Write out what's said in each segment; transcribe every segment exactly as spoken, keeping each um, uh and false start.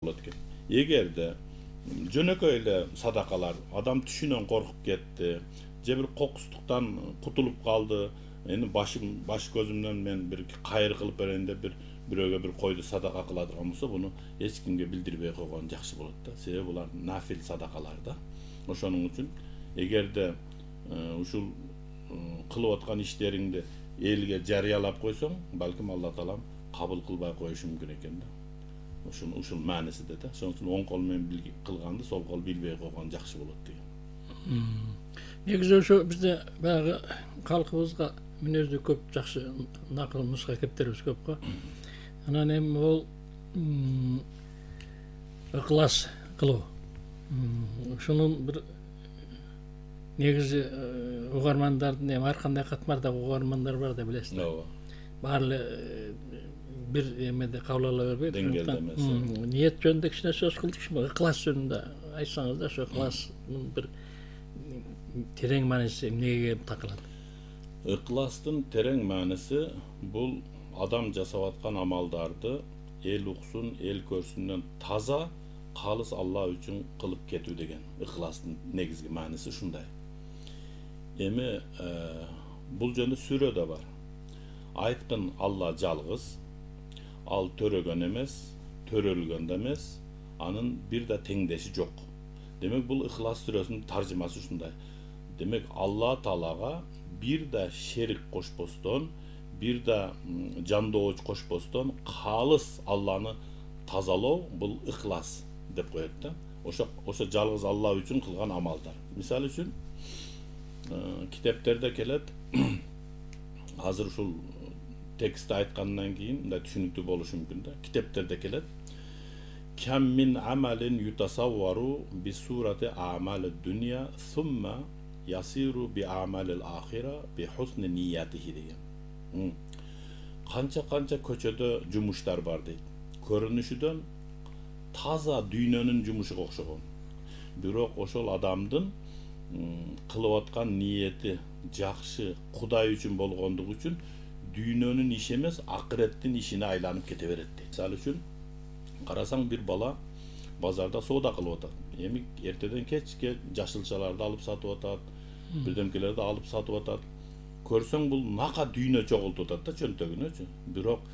болот экен. Эгерде жөнөкөй эле садакалар адам түшүнөн коркуп кетти, же бир кокустуктан кутулуп калды, эми башым баш көзүмдөн мен бир кайыр кылып берейин деп бир бирөөгө бир койду садака кыладыган болсо, буну эч кимге билдирбей койгон жакшы болот да. Себеби булар нафил садакалар да. Ошонун үчүн эгерде ушул кылып аткан иштериңди элге жарыялап койсоң, балким Алла таалам кабыл кылбай коюшу мүмкүн экен да. Ушул ушул маанисинде да. Ошон үчүн оң кол менен кылганды сол кол билбей койгон жакшы болот деген. Негизи ошо бизде баягы калкыбызга мүнөздүү көп жакшы накыл нуска кептерибиз көп го. Анан эми бул ыклас кылуу. Ушунун бир негизи угармандардын эми ар кандай катмардагы угармандар бар да, билесиз. Ооба. Баары эле бир эмеде кабыл ала бербейт. Деңгээлде эмес. Ниет жөнүндө кичине сөз кылдыкчы, ыклас жөнүндө айтсаңыз да, ошо ыкластын бир терең мааниси эмнеге келип такалат? Ыкластын терең мааниси бул адам жасап аткан амалдарды эл уксун, эл көрсүнөн таза, калыс Алла үчүн кылып кетүү деген. Ыкластын негизги мааниси ушундай. Эми бул жөнүндө сүрөдө бар. Айткын Алла жалгыз, ал төрөгөн эмес, төрөлгөн да эмес, анын бир да теңдеши жок. Демек бул Ыхлас сүрөсүнүн таржымасы ушундай. Демек Алла Таалага бир да шерик кошпостон, бир да жандоочу кошпостон калыс Алланы тазалоо бул Ыхлас деп коет да. Ошо ошо жалгыз Алла үчүн кылган амалдар. Мисалы үчүн китептерде келет. Азыр ушул текстти айткандан кийин мындай түшүнүктүү болушу мүмкүн да. Китептерде келет. Кам мин амалин ютасаввару би сурати амали дунья сумма ясиру би амалил ахира би хусни ниятихи деген. Канча-канча көчөдө жумуштар бар дейт. Көрүнүшүдөн таза дүйнөнүн жумушуга окшогон. Бирок ошол адамдын кылып аткан ниети жакшы, Кудай үчүн болгондугу үчүн дүйнөнүн иши эмес, акыреттин ишине айланып кете берет дейт. Мисалы үчүн карасаң бир бала базарда соода кылып атат. Эми эртеден кечке жашылчаларды алып сатып атат, бирдемкелерди алып сатып атат. Көрсөң бул нака дүйнө чогултуп атат да чөнтөгүнөчү. Бирок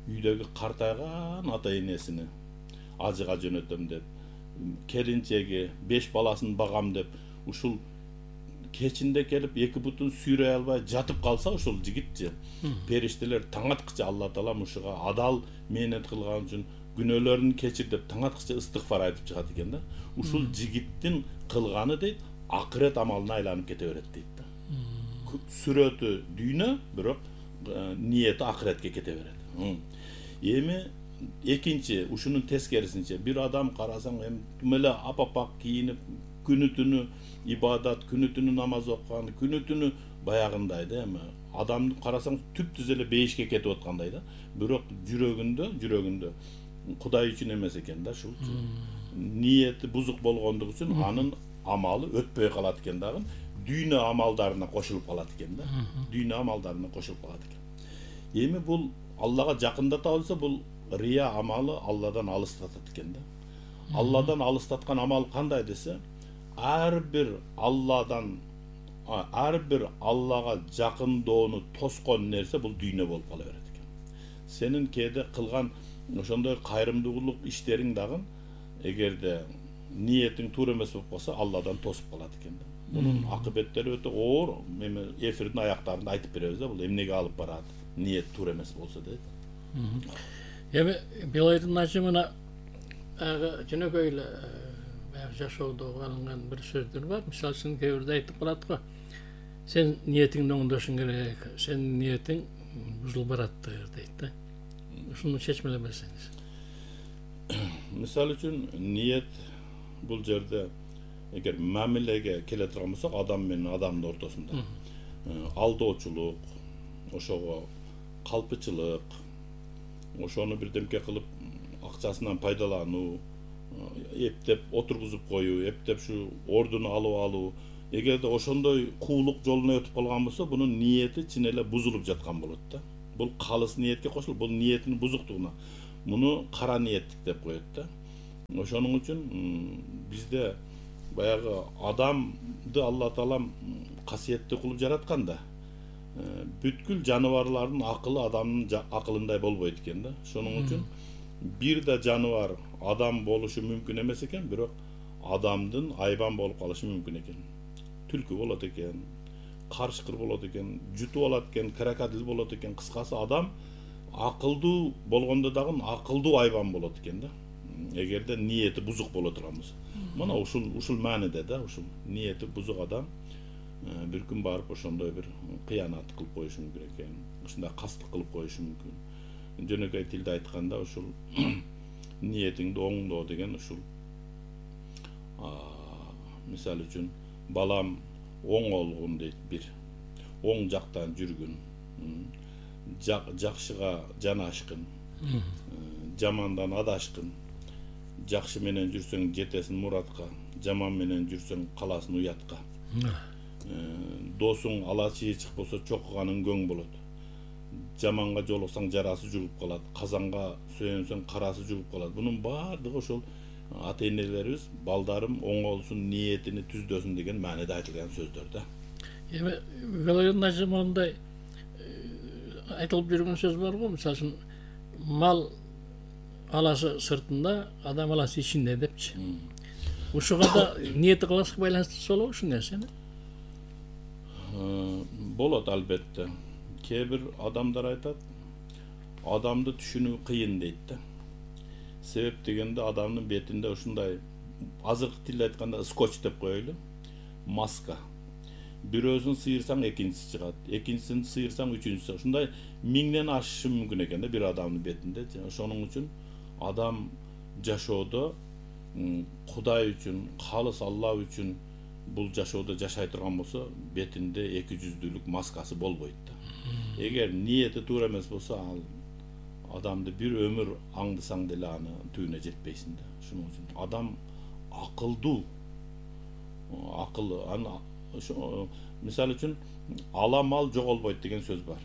үйдөгү картайган ата энесини ажыга жөнөтөм деп, келинчеги, беш баласын багам деп, ушул кечинде келип эки бутун сүйрөй албай жатып калса, ушул жигитчи периштелер таң аткыча Алла таалам ушуга адал мээнет кылган үчүн күнөөлөрүн кечир деп таң аткыча ыстыгфар айтып чыгат экен да. Ушул жигиттин кылганы дейт, акырет амалына айланып кете берет дейт да. Сүрөтү дүйнө, бирок ниети акыретке кете берет. Эми экинчи, ушунун тескерисинче бир адам карасаң эми тим эле апапак кийинип, күнү түнү ибадат, күнү түнү намаз окуган, күнү түнү баягындай да, эми адамды карасаң түп-түз эле бейишке кетип аткандай да. Бирок жүрөгүндө, жүрөгүндө Кудай үчүн эмес экен да, ушул ниети бузук болгондугу үчүн анын амалы өтпөй калат экен дагы, дүйнө амалдарына кошулуп калат экен да. Дүйнө амалдарына кошулуп калат экен. Эми бул Аллага жакындата болсо, бул рия амалы Алладан алыстатат экен да. Алладан алыстаткан амал кандай десе, ар бир Алладан ар бир Аллага жакындоону тоскон нерсе бул дүйнө болуп кала берет экен. Сенин кээде кылган ошондой кайрымдуулук иштериң дагы эгерде ниетиң туура эмес болуп калса, Алладан тосуп калат экен да. Мунун акыбеттери өтө оор. Эми эфирдин аяктарында айтып беребиз да, бул эмнеге алып барат, ниет туура эмес болсо дейт. Эми Билайдын ажымына жөнөкөй эле баягы жашоодо алынган бир сөздөр бар. Мисалы үчүн кээ бирде айтып калат го. Сен ниетиңди оңдошуң керек, сенин ниетиң бузулуп бараттыр дейт да. Ушуну чечмелеп берсеңиз. Мисалы үчүн ниет бул жерде эгер мамилеге келе турган болсок, адам менен адамдын ортосунда алдоочулук, ошого калпычылык, ошону бирдемке кылып акчасынан пайдалануу, эптеп отургузуп коюу, эптеп ушу ордуну алып алуу, эгерде ошондой куулук жолуна өтүп калган болсо, бунун ниети чын эле бузулуп жаткан болот да. Бул калыс ниетке кошулуп, бул ниетинин бузуктугуна. Муну кара ниеттик деп коет да. Ошонун үчүн бизде баягы адамды Алла Таалам касиеттүү кылып жараткан да. Бүткүл жаныбарлардын акылы адамдын акылындай болбойт экен да. Ошонун үчүн бир да жаныбар адам болушу мүмкүн эмес экен, бирок адамдын айбан болуп калышы мүмкүн экен. Түлкү болот экен, карышкыр болот экен, жутуп алат экен, крокодил болот экен. Кыскасы адам акылдуу болгондо дагы акылдуу айбан болот экен да. Эгерде ниети бузук боло турган болсо. Мына ушул ушул мааниде да, ушул ниети бузук адам бир күн барып ошондой бир кыянат кылып коюшу мүмкүн экен. Ушундай кастык кылып коюшу мүмкүн. Жөнөкөй тилде айтканда ушул ниетиңди оңдоо деген ушул мисалы үчүн балам оң олгун дейт бир. Оң жактан жүргүн, жакшыга жанашкын, жамандан адашкын. Жакшы менен жүрсөң жетесиң муратка, жаман менен жүрсөң каласың уятка. Досуң ала чыйчык болсо чокуганың көң болот. Жаманга жолуксаң жарасы жугуп калат, казанга сүйөнсөң карасы жугуп калат. Бунун баардыгы ошол ата-энелерибиз балдарым оңолсун, ниетини түздөсүн деген мааниде айтылган сөздөр да. Эми Велойдун ажымындай айтылып жүргөн сөз бар го, мисалы үчүн мал аласы сыртында, адам аласы ичинде депчи. Ушуга да ниети кыласык байланыштуу болобу ушул нерсени? Болот албетте. Кээ бир адамдар айтат, адамды түшүнүү кыйын дейт да. Себеп дегенде адамдын бетинде ушундай азыркы тилде айтканда скотч деп коелу, маска. Бирөөсүн сыйырсаң экинчиси чыгат, экинчисин сыйырсаң үчүнчүсү. Ушундай миңден ашышы мүмкүн экен да бир адамдын бетинде. Ошонун үчүн адам жашоодо Кудай үчүн, калыс Алла үчүн бул жашоодо жашай турган болсо, бетинде эки жүздүүлүк маскасы болбойт да. Эгер ниети туура эмес болсо, ал адамды бир өмүр аңдысаң деле аны түбүнө жетпейсиң да. Ошон үчүн адам акылдуу, акылы, аны мисалы үчүн ала мал жоголбойт деген сөз бар.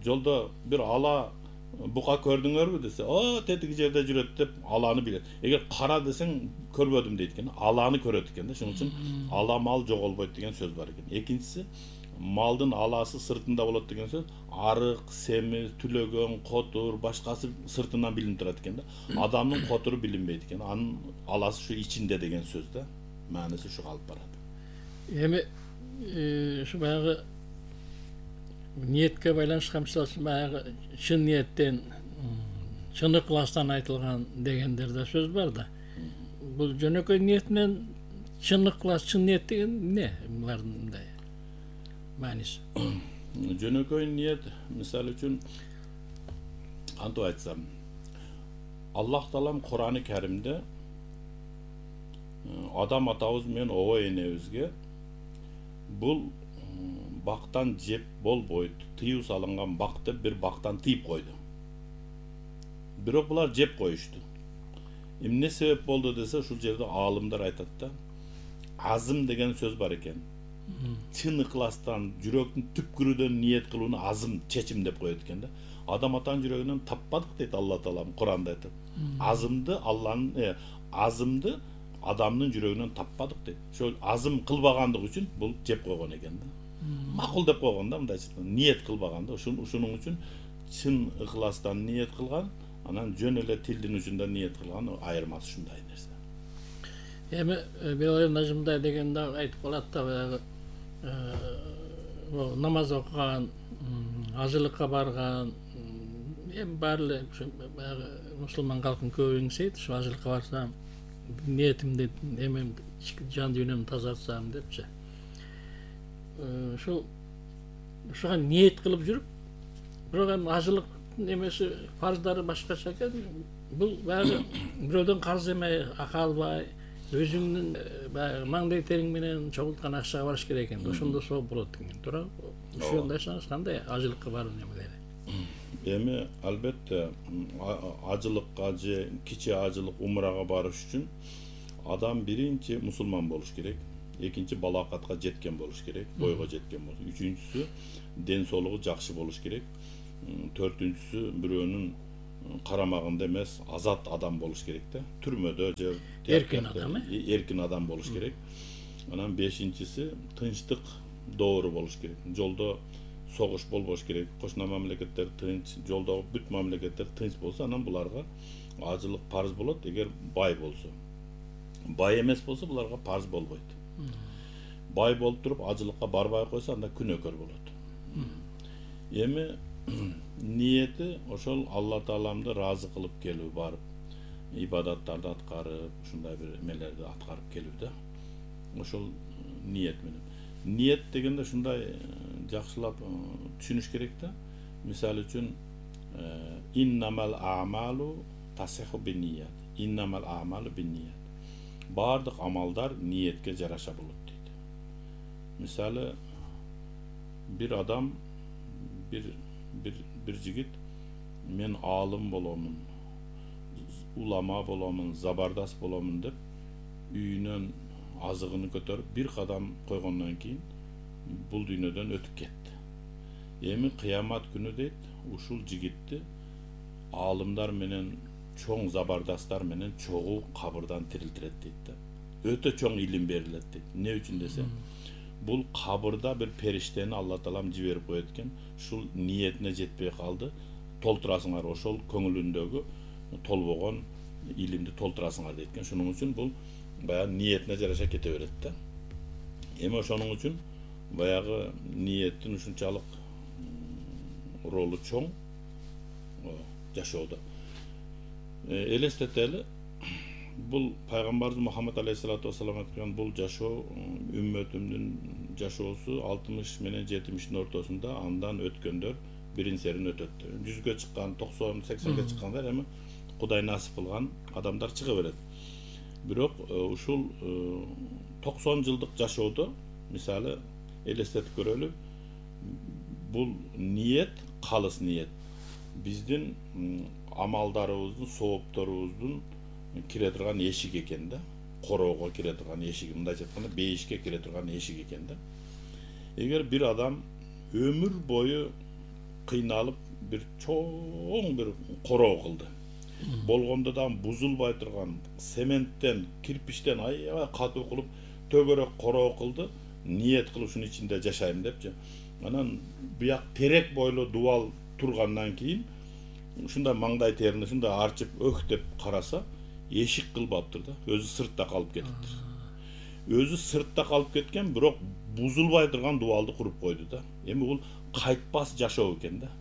Жолдо бир ала бука көрдүңөрбү десе, о, тетиги жерде жүрөт деп аланы билет. Эгер кара десең көрбөдүм дейт экен, аланы көрөт экен да. Ошон үчүн ала мал жоголбойт деген сөз бар экен. Экинчиси, малдын аласы сыртында болот деген сөз, арык, семиз, түлөгөн, котур, башкасы сыртынан билинип турат экен да. Адамдын котуру билинбейт экен, анын аласы ушу ичинде деген сөз да. Мааниси ушуга алып барат. Эми ушу баягы ниетке байланышкан, мисалы үчүн баягы чын ниеттен, чын ыкластан айтылган дегендер да сөз бар да. Бул жөнөкөй ниет менен чын ыклас, чын ниет деген эмне? Булардын мындай мааниси. Жөнөкөй ниет, мисалы үчүн кантип айтсам, Аллах Таалам Кур'ан-ы Каримде адам атабыз менен ого энебизге бул бактан жеп болбойт, тыюу салынган бак деп бир бактан тыйып койду. Бирок булар жеп коюшту. Эмне себеп болду десе, ушул жерде аалымдар айтат да, азым деген сөз бар экен. Чын ыкластан, жүрөктүн түпкүрүдөн ниет кылууну азым, чечим деп коет экен да. Адам атанын жүрөгүнөн таппадык дейт Алла Таалам Кур'анда айтат. Азымды Алланын, азымды адамдын жүрөгүнөн таппадык дейт. Ошол азым кылбагандык үчүн бул жеп койгон экен да. Макул деп койгон да, мындайча ниет кылбаганда. Ушунун үчүн чын ыкластан ниет кылган, анан жөн эле тилдин учунда ниет кылган айырмасы ушундай нерсе. Эми Белойдун ажымындай дегенде айтып калат да, баягы намаз окуган, ажылыкка барган, эми баары эле баягы мусулман калкын көбү эңсейт, ушу ажылыкка барсам, ниетимди, эмем, жан дүйнөмдү тазартсам депчи. Ушул ушуга ниет кылып жүрүп, бирок эми ажылык немеси фарздары башкача экен. Бул баягы бирөөдөн карыз эмей, акы албай, өзүңдүн баягы маңдай териң менен чогулткан акчага барыш керек экен. Ошондо сооп болот экен. Туура? Ошондойсаңыз кандай ажылыкка баруу немелери? Эми албетте ажылыкка же кичи ажылык умрага барыш үчүн адам биринчи мусулман болуш керек. Экинчи балакатка жеткен болуш керек, бойго жеткен болуш. Үчүнчүсү ден соолугу жакшы болуш керек. Төртүнчүсү бирөөнүн карамагында эмес, азат адам болуш керек да. Түрмөдө же Эркин адам, э? эркин адам болуш керек. Анан бешинчиси тынчтык доору болуш керек. Жолдо согуш болбош керек. Кошуна мамлекеттер тынч, жолдогу бүт мамлекеттер тынч болсо, анан буларга ажылык парыз болот, эгер бай болсо. Бай эмес болсо, буларга парыз болбойт. Бай болуп туруп ажылыкка барбай койсо, анда күнөөкөр болот. Эми ниети ошол Алла Тааламды ыраазы кылып келүү, барып ибадаттарды аткарып, ушундай бир эмелерди аткарып келүү да. Ошол ниет менен. Ниет дегенде ушундай жакшылап түшүнүш керек да. Мисалы үчүн иннамал а'малу тасиху бинният. Иннамал а'малу бинният. Бардык амалдар ниетке жараша болот дейт. Мисалы бир адам, бир бир бир жигит мен аалым боломун, улама боломун, забардас боломун деп үйүнөн азыгын көтөрүп бир кадам койгондон кийин бул дүйнөдөн өтүп кетти. Эми кыямат күнү дейт, ушул жигитти аалымдар менен, чоң забардастар менен чогуу кабырдан тирилтирет дейт да. Өтө чоң илим берилет дейт. Эмне үчүн десе, бул кабырда бир периштени Алла Таалам жиберип коет экен. Ушул ниетине жетпей калды. Толтурасыңар, ошол көңүлүндөгү толбогон илимди толтурасыңар дейт экен. Шуның үчүн бул баягы ниетине жараша кете берет да. Эми ошонун үчүн баягы ниеттин ушунчалык ролу чоң жашоодо. Элестетели, бул пайгамбарыбыз Мухаммад алейхиссалату вассалам айткан бул жашоо үммөтүмдүн жашоосу алтымыш менен жетимиштин ортосунда, андан өткөндөр бирин серин өтөт. жүзгө чыккан, токсон, сексенге чыккандар эми Кудай насип кылган адамдар чыга берет. Бирок ушул токсон жылдык жашоодо, мисалы элестетип көрөлү, бул ниет, калыс ниет биздин амалдарыбыздын, соопторубуздун кире турган эшик экен да. Короого кире турган эшик, мындайча айтканда бейишке кире турган эшик экен да. Эгер бир адам өмүр бою кыйналып бир чоң бир короо кылды, болгондо да бузулбай турган цементтен, кирпичтен аябай катуу кылып төгөрөк короо кылды, ниет кылып ушунун ичинде жашайм депчи. Анан бияк терек бойлуу дубал тургандан кийин ушундай маңдай терини ушундай арчып өх деп караса, эшик кылбаптыр да, өзү сыртта калып кетиптир. Өзү сыртта калып кеткен, бирок бузулбай турган дубалды куруп койду да. Эми бул кайтпас жашоо экен да.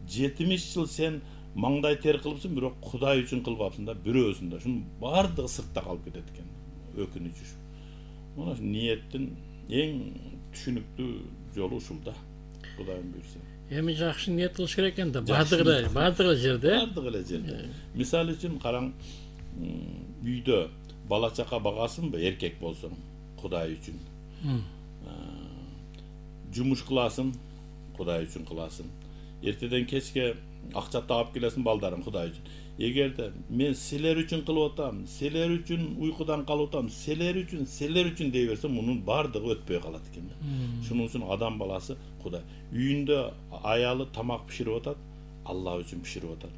жетимиш жыл сен маңдай тер кылыпсың, бирок Кудай үчүн кылбапсың да, бирөөсүн да. Шунун бардыгы сыртта калып кетет экен. Өкүнүчү. Мына ниеттин эң түшүнүктүү жолу ушул да. Кудайым буйрса. Эми жакшы ниет кылыш керек экен да, бардыгы эле, бардыгы эле жерде. Бардыгы эле жерде. Мисалы үчүн караң, үйдө бала чака багасыңбы, эркек болсоң, Кудай үчүн. Жумуш кыласың, Кудай үчүн кыласың. Эртеден кечке акча таап келесиң балдарың, Кудай үчүн. Эгерде мен силер үчүн кылып атам, силер үчүн уйкудан калып атам, силер үчүн, силер үчүн дей берсем, мунун бардыгы өтпөй калат экен да. Шунун үчүн адам баласы Кудай. Үйүндө аялы тамак биширип атат, Алла үчүн биширип атат.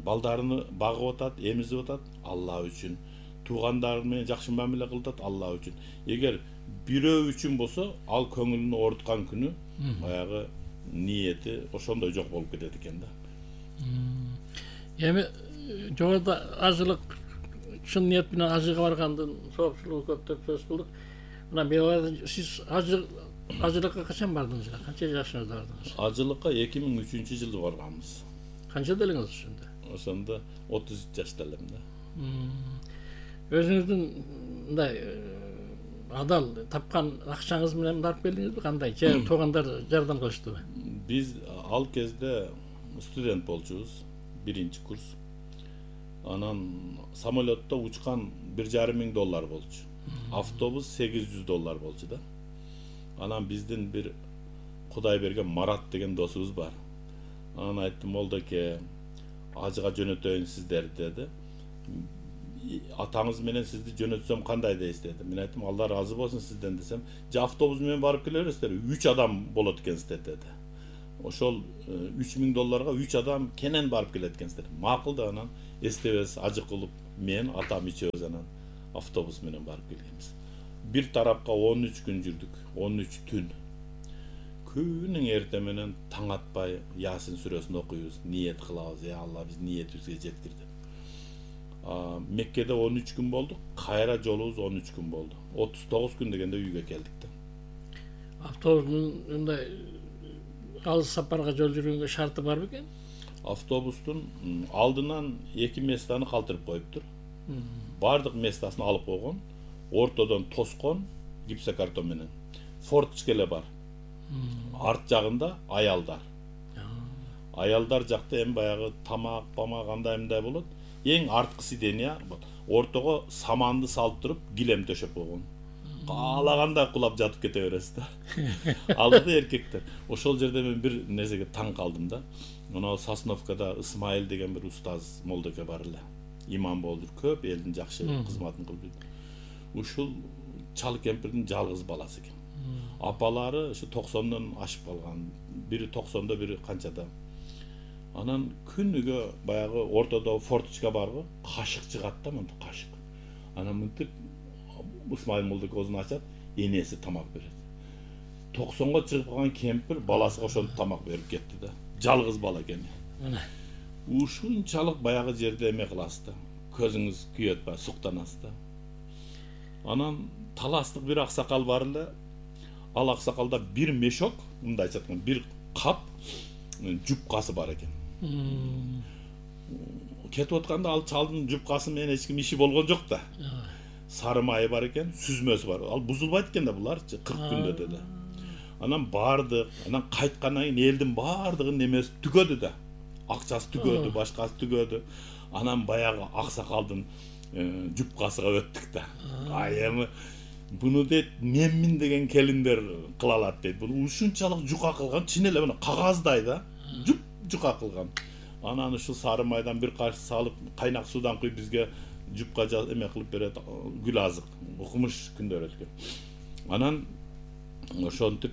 Балдарыны багып атат, эмизип атат, Алла үчүн. Туугандары менен жакшы мамиле кылып атат, Алла үчүн. Эгер бирөө үчүн болсо, ал көңүлүн ооруткан күнү баягы ниети ошондой жок болуп кетет экен да. Эми жогоруда ажылык, чын ниет менен ажыга баргандын соопчулугу көп деп сөз кылдык. Мына беларда сиз ажы ажылыкка качан бардыңыз? Канча жашыңызда бардыңыз? Ажылыкка эки миң үчүнчү жылы барганбыз. Канчада элеңиз ошондо? Ошондо отуз үч жашта элем да. Өзүңүздүн мындай адал тапкан акчаңыз менен барып келдиңизби? Кандай? Же туугандар жардам кылыштыбы? Биз ал кезде студент болчубуз, биринчи курс. Анан самолетто учкан бир жарым миң доллар болчу. Автобус сегиз жүз доллар болчу да. Анан биздин бир Кудай берген Марат деген досубуз бар. Анан айттым, молдоке, ажыга жөнөтөйүн сиздерди деди. Атаңыз менен сизди жөнөтсөм кандай дейсиз деди. Мен айттым, Алла ыраазы болсун сизден десем, же автобус менен барып келе бересиздер, үч адам болот экенсиздер деди. ошол үч миң долларга үч адам кенен барып келет экенсиздер. Макул да анан эстебес ажы кылып мен атам ичебиз анан автобус менен барып келгенбиз. Бир тарапка он үч күн жүрдүк, он үч түн. Күнүң эрте менен таң атпай Ясин сүрөсүн окуйбуз, ниет кылабыз, я Алла биз ниетибизге жеткир деп. Меккеде он үч күн болдук, кайра жолубуз он үч күн болду. отуз тогуз күн дегенде үйгө келдик да. Автобустун мындай алыс сапарга жол жүргөнгө шарты бар бекен? Автобустун алдынан эки местаны калтырып коюптур. Бардык местасын алып койгон, ортодон тоскон гипсокартон менен. Форточка эле бар. Арт жагында аялдар. Аялдар жакта эми баягы тамак, памак андай мындай болот. Эң арткы сидения, ортого саманды салып туруп, килем төшөп койгон. Каалагандай кулап жатып кете бересиз да. Алдыда эркектер. Ошол жерде мен бир нерсеге таң калдым да. Мына Сосновкада Исмайыл деген бир устаз молдоке бар эле. Имам болду, көп элдин жакшы кызматын кылып жүрдү. Ушул чал кемпирдин жалгыз баласы экен. Апалары ушу токсондон ашып калган. Бири токсондо, бири канчада. Анан күнүгө баягы ортодо форточка барбы, кашык чыгат да, мынтип кашык. Анан мынтип Исмайыл молдоке оозун ачат, энеси тамак берет. токсонго чыгып калган кемпир баласына ошентип тамак берип кетти да. Жалгыз бала экен. Ушунчалык баягы жерде эме кыласыз да. Көзүңүз күйөт ба, суктанасыз да. Анан таластык бир аксакал бар эле. Ал аксакалда бир мешок, мындайча айтканда, бир кап жупкасы бар экен. Кетип атканда ал чалдын жупкасы менен эч ким иши болгон жок да. Сары майы бар экен, сүзмөсү бар. Ал бузулбайт экен да буларчы кырк күндө деди. Анан барды, анан кайткандан кийин элдин бардыгын немеси түгөдү да. Акчасы түгөдү, башкасы түгөдү. Анан баягы аксакалдын жупкасыга өттүк да. Ай эми буну дейт менмин деген келиндер кыла алат дейт. Бул ушунчалык жука кылган, чын эле мына кагаздай да. Жуп жука кылган. Анан ушул сары майдан бир кашык салып, кайнак суудан куюп бизге жупка эме кылып берет, гүл азык, укмуш күндөр өткөн. Анан ошентип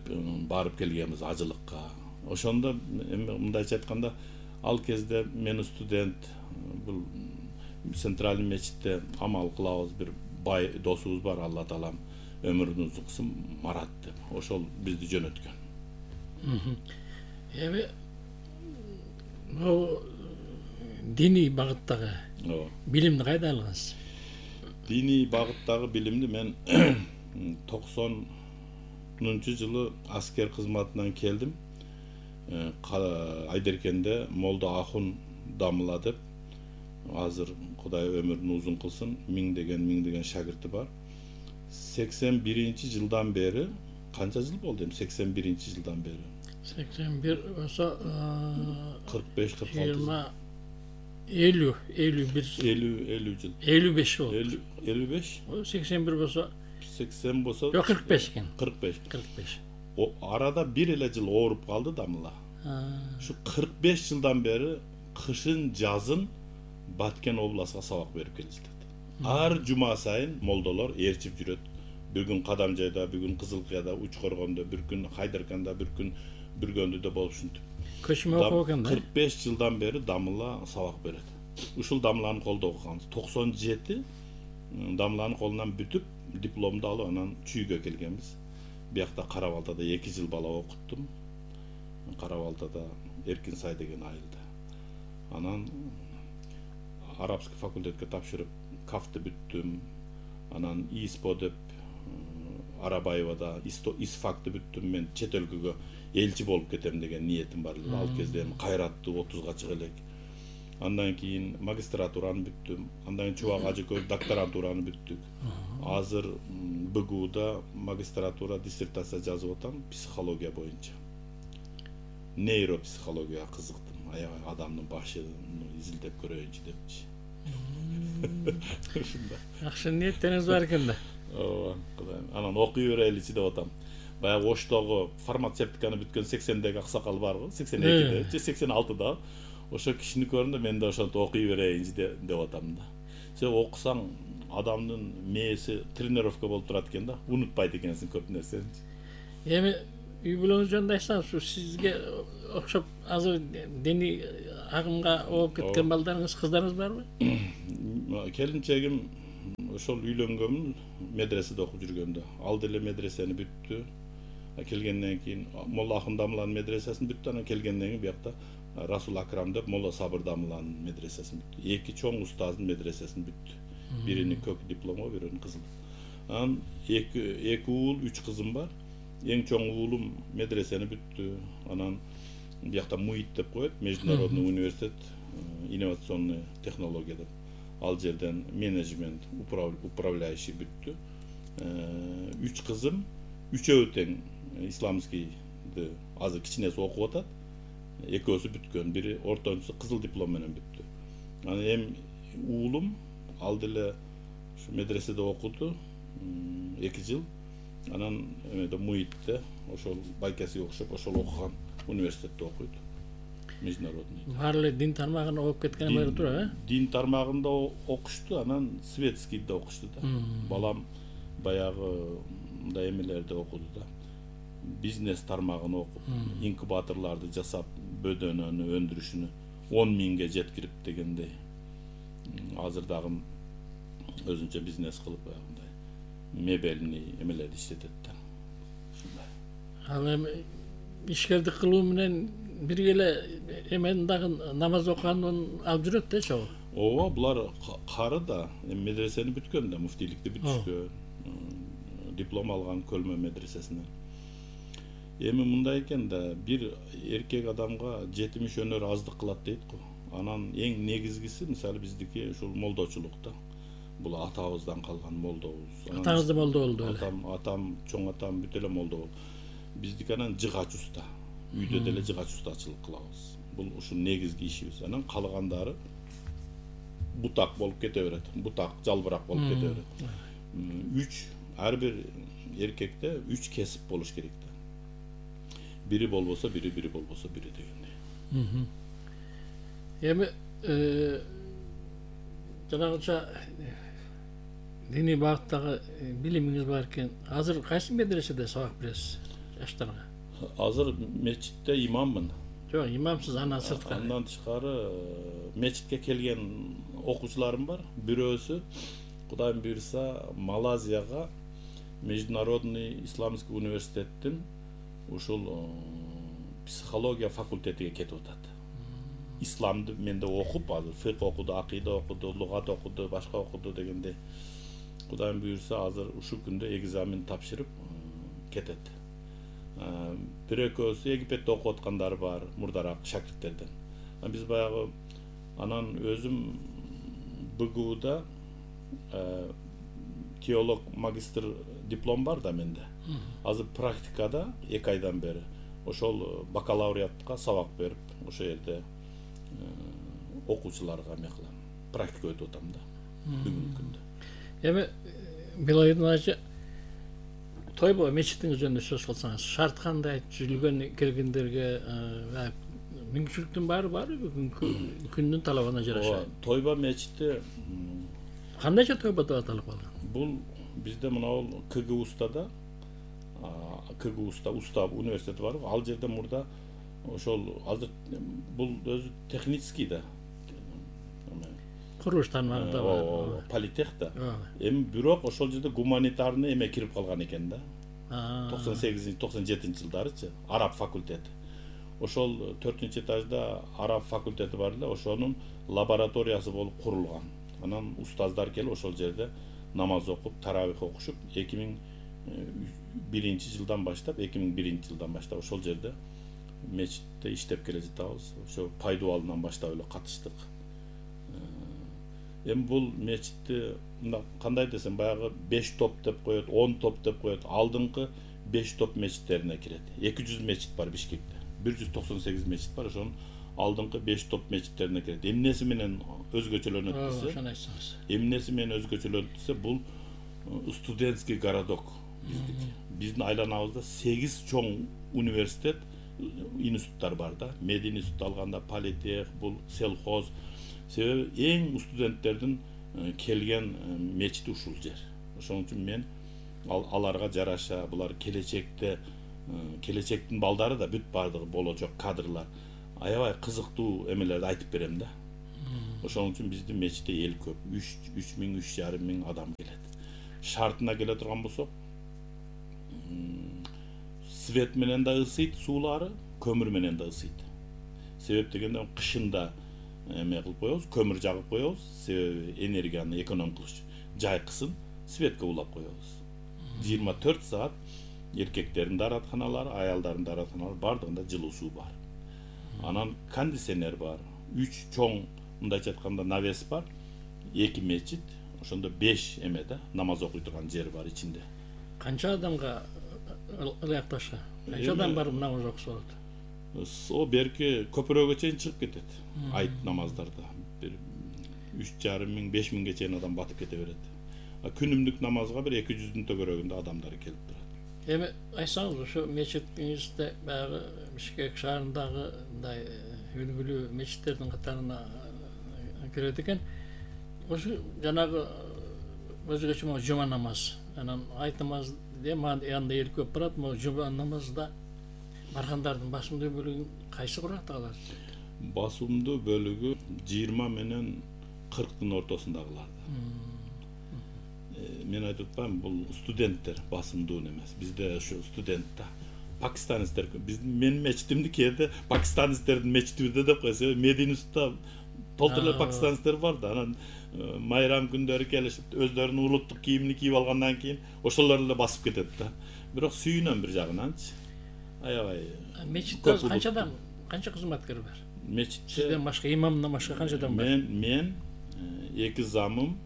барып келгенбиз ажылыкка. Ошондо эми мындайча айтканда, ал кезде мен студент, бул Центральный мечитте амал кылабыз, бир бай досубуз бар, Алла таалам өмүрүн узун кылсын, Марат деп. Ошол бизди жөнөткөн. Эми бул диний багыттагы билимди кайда алгансыз? Диний багыттагы билимди мен токсонунчу жылы аскер кызматынан келдим. Айдеркенде Молдо Ахун Дамыла деп, азыр Кудай өмүрүн узун кылсын, миңдеген миңдеген шагирти бар. сексен биринчи жылдан бери, канча жыл болду эми сексен биринчи жылдан бери? сексен бир болсо кырк беш кырк алты жыйырма элүү элүү бир элүү элүү жыл. элүү беш болду. элүү беш? сексен бир болсо сексен болсо жок кырк беш экен. кырк беш. кырк беш. Арада бир эле жыл ооруп калды Дамыла. Ушу кырк беш жылдан бери кышын жазын Баткен областка сабак берип келишет. Ар жума сайын молдолор ээрчип жүрөт. Бир күн Кадамжайда, бир күн Кызылкыяда, Учкоргондо, бир күн Хайдарканда, бир күн Бүргөндүдө болуп ушинтип. Көчмө окуп экен да. кырк беш жылдан бери Дамыла сабак берет. Ушул Дамыланын колдо окуганбыз. токсон жети Дамыланын колунан бүтүп, дипломду алып, анан Чүйгө келгенбиз. Биякта Карабалтада эки жыл бала окуттум. Карабалтада Эркинсай деген айылда. Анан арабский факультетке тапшырып, кафты бүттүм. Анан ИСПО деп Арабаевада ИСФАКты бүттүм. Мен чет өлкөгө элчи болуп кетем деген ниетим бар эле. Ал кезде эми кайраттуу отузга чыга элек. Андан кийин магистратураны бүттүм. Андан кийин Чубак Ажыкөл докторантураны бүттүк. Азыр БГУда магистратура диссертация жазып атам психология боюнча. Нейропсихологияга кызыктым. Аябай адамдын башын изилдеп көрөйүнчү депчи. Ушундай. Жакшы ниеттериңиз бар экен да. Ооба, Кудайым. Анан окуй береличи деп атам. Баягы Оштогу фармацевтиканы бүткөн сексендеги аксакал барбы? сексен экиде, же сексен алтыда. Ошо кишини көрүндө мен да ошентип окуй берейинчи деп атам да. Себеби окусаң адамдын мээси тренировка болуп турат экен да, унутпайт экенсиң көп нерсени. Эми үй бүлөңүз жөнүндө айтсаңыз, ушу сизге окшоп азыр диний агымга ооп кеткен балдарыңыз, кыздарыңыз барбы? Келинчегим ошол үйлөнгөнмүн, медреседе окуп жүргөндө. Ал деле медресени бүттү. Келгенден кийин Молла Ахун Дамыланын медресесин бүттү, анан келгенден кийин биякта Расул Акрам деп Молла Сабыр Дамыланын медресесин бүттү. Эки чоң устаздын медресесин бүттү. Бирини көк дипломго, бирини кызыл. Анан эки эки уул, үч кызым бар. Эң чоң уулум медресени бүттү. Анан биякта МУИТ деп коет, Международный университет инновационный технология деп. Ал жерден менеджмент, управляющий бүттү. Үч кызым, үчөө тең исламскийди азыр кичинеси окуп атат. Экөөсү бүткөн, бири ортончусу кызыл диплом менен бүттү. Анан эми уулум ал деле ушу медреседе окуду эки жыл. Анан эмеде МУИТте ошол байкесиге окшоп ошол окуган университетте окуйт. Международный. Баары эле дин тармагына окуп кеткен эмелер тура, э? Дин тармагында окушту, анан светскийде окушту да. Балам баягы мындай эмелерде окуду да. Бизнес тармагын окуп, инкубаторлорду жасап, бөдөнөнү өндүрүшүнү он миңге жеткирип дегендей. Азыр дагы өзүнчө бизнес кылып баягындай мебельный эмелерди иштетет да. Ушундай. Ал эми ишкердик кылуу менен бирге эле эмен дагы намаз окуганын алып жүрөт да чогуу. Ооба, булар кары да, эми медресени бүткөн да, муфтийликти бүтүшкөн, диплом алган Көлмө медресесинен. Эми мындай экен да, бир эркек адамга жетимиш өнөр аздык кылат дейт го. Анан эң негизгиси, мисалы биздики ушул молдочулук да. Бул атабыздан калган молдобуз. Атаңыз да молдо болду эле. Атам, атам, чоң атам бүт эле молдо болду. Биздики анан жыгач уста. Үйдө деле жыгач устачылык кылабыз. Бул ушул негизги ишибиз. Анан калгандары бутак болуп кете берет. Бутак, жалбырак болуп кете берет. Үч, ар бир эркекте үч кесип болуш керек да. Бири болбосо бири, бири болбосо бири дегендей. Эми жанагыча диний багыттагы билимиңиз бар экен. Азыр кайсы медреседе сабак бересиз жаштарга? Азыр мечитте имаммын. Жок, имамсыз, андан сырткары. Андан тышкары мечитке келген окуучуларым бар. Бирөөсү Кудайым буйрса Малайзияга Международный исламский университеттин ушул психология факультетиге кетип атат. Исламды менде окуп, азыр фикh окуду, акыйда окуду, лугат окуду, башка окуду дегенде. Кудайым буйрса азыр ушул күндө экзамен тапшырып кетет. Бир экөөсү Египетте окуп аткандар бар, мурдараак шакирттерден. Биз баягы анан өзүм БГУда теолог магистр диплом бар да менде. Азыр практикада эки айдан бери ошол бакалавриатка сабак берип, ошол жерде окуучуларга эме кылам. Практика өтүп атам да бүгүнкү күндө. Эми Белайдын ажы Тойбо мечитиңиз жөнүндө сөз кылсаңыз, шарт кандай, түзүлгөн келгендерге мүмкүнчүлүктүн баары барбы бүгүнкү күндүн талабына жараша? Тойбо мечити кандайча Тойбо деп аталып калган? Бул бизде мынау КГУста да, КГУста уста университети бар. Ал жерде мурда ошол азыр бул өзү технический да. Курулуш тармагында бар. Политех да. Эми бирок ошол жерде гуманитарный эме кирип калган экен да. токсон сегизинчи токсон жетинчи жылдарычы, араб факультети. Ошол төртүнчү этажда араб факультети бар эле, ошонун лабораториясы болуп курулган. Анан устаздар келип ошол жерде намаз окуп, таравих окушуп, эки миң биринчи жылдан баштап, эки миң биринчи жылдан баштап ошол жерде мечитте иштеп келе жатабыз. Ошо пайдубалынан баштап эле катыштык. Эми бул мечитти кандай десем, баягы беш топ деп коет, он топ деп коет. Алдыңкы беш топ мечиттерине кирет. эки жүз мечит бар Бишкекте. бир жүз токсон сегиз мечит бар, ошонун алдыңкы беш топ мечиттерине кирет. Эмнеси менен өзгөчөлөнөт десе? Ошону айтсаңыз. Эмнеси менен өзгөчөлөнөт десе, бул студентский городок биздики. Биздин айланабызда сегиз чоң университет, институттар бар да. Мед институт алганда политех, бул селхоз. Себеби эң студенттердин келген мечит ушул жер. Ошон үчүн мен аларга жараша, булар келечекте келечектин балдары да бүт баардыгы болочок кадрлар аябай кызыктуу эмелерди айтып берем да. Ошон үчүн биздин мечитте эл көп. үч миң үч жарым миң адам келет. Шартына келе турган болсок, свет менен да ысыйт суулары, көмүр менен да ысыйт. Себеп дегенде кышында эме кылып коебуз, көмүр жагып коебуз, себеби энергияны эконом кылыш, жайкысын светке улап коебуз. жыйырма төрт саат эркектердин дааратканалары, аялдардын дааратканалары бардыгында жылуу суу бар. Анан кондиционер бар. үч чоң, мындайча айтканда, навес бар. эки мечит, ошондо беш эме да, намаз окуй турган жер бар ичинде. Канча адамга ылыякташа? Канча адам барып намаз окуса болот? О берки көпүрөгө чейин чыгып кетет. Айт намаздарда бир үч жарым миң, беш миңге чейин адам батып кете берет. Күнүмдүк намазга бир эки жүздүн төгөрөгүндө адамдар келип турат. Эми айтсаңыз, ошо мечитиңизде баягы Бишкек шаарындагы мындай үлгүлүү мечиттердин катарына кирет экен. Ошо жанагы өзгөчө могу жума намаз, анан айт намаз дем анда эл көп барат, могу жума намазда баргандардын басымдуу бөлүгүн кайсы куракта калат? Басымдуу бөлүгү жыйырма менен кырктын ортосундагылар. Мен айтып атпаймынбы, бул студенттер басымдуу эмес. Бизде ошо студент да. Пакистанецтер, биздин менин мечитимди кээде пакистанецтердин мечити деп койсо, Мединустда толтур эле пакистанецтер бар да. Анан майрам күндөрү келишип, өздөрүнүн улуттук кийимин кийип алгандан кийин ошолор эле басып кетет да. Бирок сүйүнөм бир жагынанчы. Аябай. Мечитте канча адам, канча кызматкер бар? Мечитте сизден башка, имамдан башка канча адам бар? Мен мен эки замым,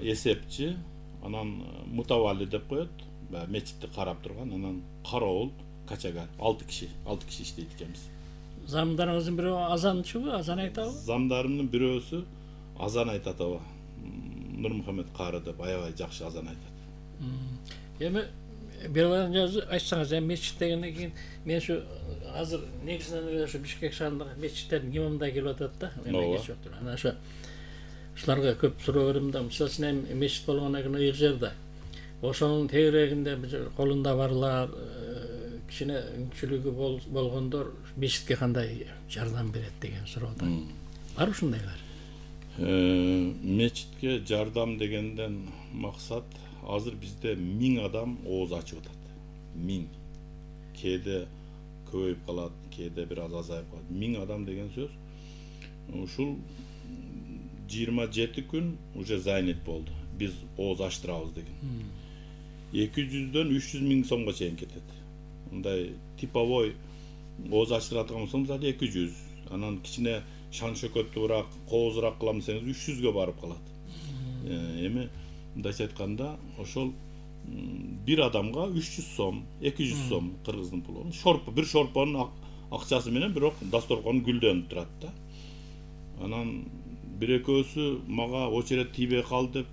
эсепчи, анан мутавалли деп коет, баягы мечитти карап турган, анан кароол, качагар, алты киши, алты киши иштейт экенбиз. Замдарыңыздын бирөө азанчыбы, азан айтабы? Замдарымдын бирөөсү азан айтат аба. Нурмухамед кары деп аябай жакшы азан айтат. Эми бир жазы айтсаңыз, эми мечит дегенден кийин мен ушу азыр негизинен эле ушу Бишкек шаарындагы мечиттердин имамдары келип атат да. Анан ошо ушуларга көп суроо берем да. Мисалы үчүн эми мечит болгондон кийин ыйык жерде ошонун тегерегинде колунда барлар, кичине мүмкүнчүлүгү болгондор мечитке кандай жардам берет деген суроо да. Бар ушундайлар? Мечитке жардам дегенден максат азыр бизде миң адам ооз ачып атат. Миң. Кээде көбөйүп калат, кээде бир аз азайып калат. Миң адам деген сөз. Ушул жыйырма жети күн уже занят болду. Биз ооз ачтырабыз деген. эки жүздөн үч жүз миң сомго чейин кетет. Мындай типовой ооз ачтыратын болсоң, мисалы эки жүз, анан кичине шан шөкөттүүрөөк, коозураак кылам десеңиз үч жүзгө барып калат. Эми мындайча айтканда, ошол бир адамга үч жүз сом, эки жүз сом кыргыздын пулу. Шорпо, бир шорпонун акчасы менен бирок дасторкон гүлдөнүп турат да. Анан бир экөөсү мага очередь тийбей калды деп